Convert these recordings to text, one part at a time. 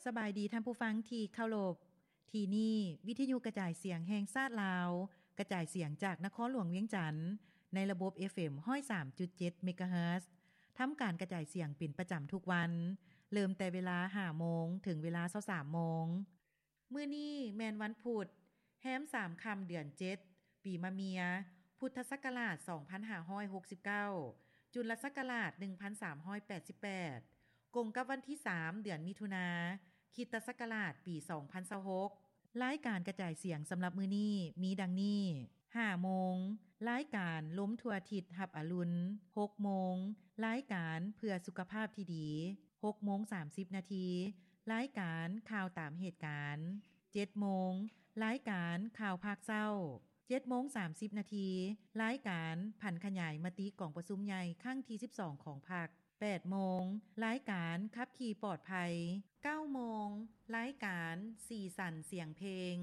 ສະບາຍດີທ່ານຜູ້ຟັງທີ່ເຄົາລົບ. ທີ່ນີ້ວິທະຍຸກະຈາຍສຽງແຫ່ງຊາດລາວ, ກະຈາຍສຽງຈາກນະຄອນຫຼວງວຽງຈັນ ໃນລະບົບ ເອຟເອັມ ຮ້ອຍສາມຈຸດເຈັດ ເມກາເຮີດ. ທຳການກະຈາຍສຽງເປັນປະຈຳທຸກວັນ, ເລີ່ມແຕ່ເວລາ ຫ້າໂມງ ເຖິງເວລາ ຊາວສາມໂມງ. ມື້ນີ້ແມ່ນວັນພຸດ, ແຮມສາມຄ່ຳ ເດືອນເຈັດ, ປີມະເມຍ, ພຸດທະສັກກະລາດ ສອງພັນຫ້າຮ້ອຍຫົກສິບເກົ້າ, ຈຸນລະສັກກະລາດ ໜຶ່ງພັນສາມຮ້ອຍແປດສິບແປດ, ກົງກັບວັນທີສາມ ເດືອນມິຖຸນາ, ຄຣິສຕະສັກກະລາດ ປີສອງພັນຊາວຫົກ. ລາຍການກະຈາຍສຽງສຳລັບມື້ນີ້ມີດັ່ງນີ້: ຫ້າໂມງ, ລາຍການລົມທົ່ວທິດຮັບອະລຸນ. ຫົກໂມງ, ລາຍການເພື່ອສຸຂະພາບທີ່ດີ. ຫົກໂມງສາມສິບນາທີ, ລາຍການຂ່າວຕາມເຫດການ. ເຈັດໂມງ, ລາຍການຂ່າວພາກເຊົ້າ. ເຈັດໂມງສາມສິບນາທີ, ລາຍການຜັນຂະຫຍາຍມະຕິກອງປະຊຸມໃຫຍ່ຄັ້ງທີສິບສອງຂອງພັກ. ແປດໂມງ, ລາຍການຂັບຂີ່ປອດໄພ. ເກົ້າໂມງ, ລາຍການສີສັນສຽງເພງ.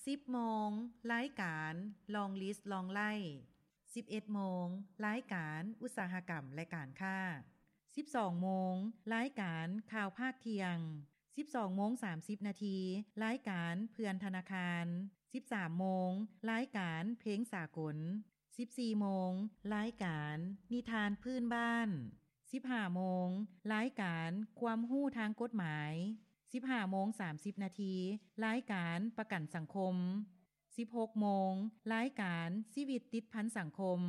ສິບໂມງ, ລາຍການ Long List Long Life. ສິບເອັດໂມງ, ລາຍການອຸດສາຫະກຳ ແລະ ການຄ້າ. ສິບສອງໂມງ, ລາຍການຂ່າວພາກທ່ຽງ. ສິບສອງໂມງສາມສິບນາທີ, ລາຍການເພື່ອນທະນາຄານ. ສິບສາມໂມງ, ລາຍການເພງສາກົນ. ສິບສີ່ໂມງ, ລາຍການນິທານພື້ນບ້ານ. ສິບຫ້າໂມງ, ລາຍການຄວາມຮູ້ທາງກົດໝາຍ. ສິບຫ້າໂມງສາມສິບນາທີ, ລາຍການປະກັນສັງຄົມ. ສິບຫົກໂມງ, ລາຍການຊີວິດຕິດພັນສັງຄົມ.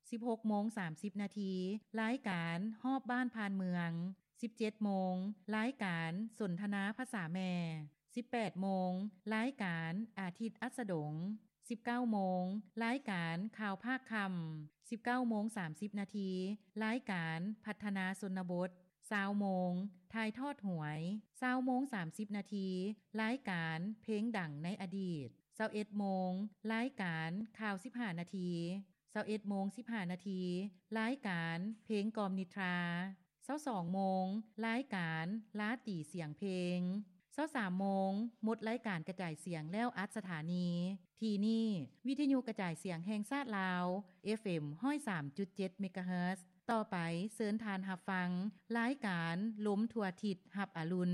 ສິບຫົກໂມງສາມສິບນາທີ, ລາຍການຮອບບ້ານຜ່ານເມືອງ. ສິບເຈັດໂມງ, ລາຍການສົນທະນາພາສາແມ່. ສິບແປດໂມງ, ລາຍການອາທິດອັດສະດົງ. ສິບເກົ້າໂມງ, ລາຍການຂ່າວພາກຄ່ຳ. ສິບເກົ້າໂມງສາມສິບນາທີ, ລາຍການພັດທະນາຊົນນະບົດ. ຊາວໂມງ, ຖ່າຍທອດຫວຍ. ຊາວໂມງສາມສິບນາທີ, ລາຍການເພງດັງໃນອະດີດ. ຊາວເອັດໂມງ, ລາຍການຂ່າວສິບຫ້ານາທີ. ຊາວເອັດໂມງສິບຫ້ານາທີ, ລາຍການເພງກ່ອມນິດທາ. ຊາວສອງໂມງ, ລາຍການລາຕີສຽງເພງ. ຊາວສາມໂມງ, ໝົດລາຍການກະຈາຍສຽງແລ້ວອັດສະຖານີ. ທີ່ນີ້ ວິທະຍຸກະຈາຍສຽງແຫ່ງຊາດລາວ, ເອຟເອັມ ຮ້ອຍສາມຈຸດເຈັດ ເມກາເຮີດ. ຕໍ່ໄປເຊີນທ່ານຮັບຟັງລາຍການລົມທົ່ວທິດຮັບອະລຸນ.